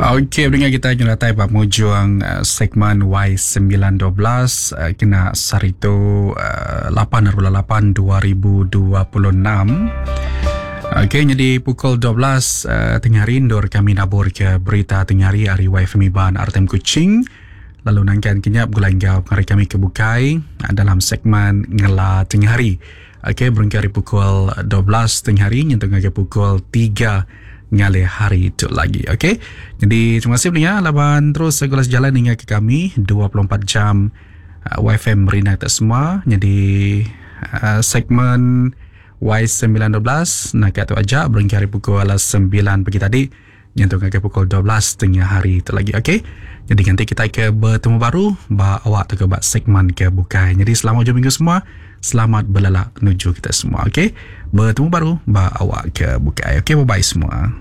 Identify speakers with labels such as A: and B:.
A: Okey, pendengar kita nyeratai ba mujung uh, segmen Y912 uh, kena sehari tu uh, 8.8 2026. Okey, jadi pukul 12 uh, tengah hari endur kami nabur ke berita tengah hari ari YFM Iban RTM Kuching. Lalu nangkan kenyap gulai enggau pengari kami ke bukai uh, dalam segmen Ngela Tengah Hari. Okey, berengkah ari pukul 12 tengah hari nyentuk ngagai pukul 3 ngalih hari tu lagi. Okey. Jadi terima kasih pendengar laban terus segala sejalan hingga ke kami 24 jam uh, YFM Rina kita semua. Jadi uh, segmen Y912 nak tu aja berengkah hari pukul 9 pagi tadi nyentuk ngagai pukul 12 tengah hari tu lagi. Okey. Jadi nanti kita ke bertemu baru ba awak tu ke ba segmen ke bukai. Jadi selamat hujung minggu semua. Selamat belelak menuju kita semua. Okey. Bertemu baru ba awak ke bukai. Okey, bye bye semua.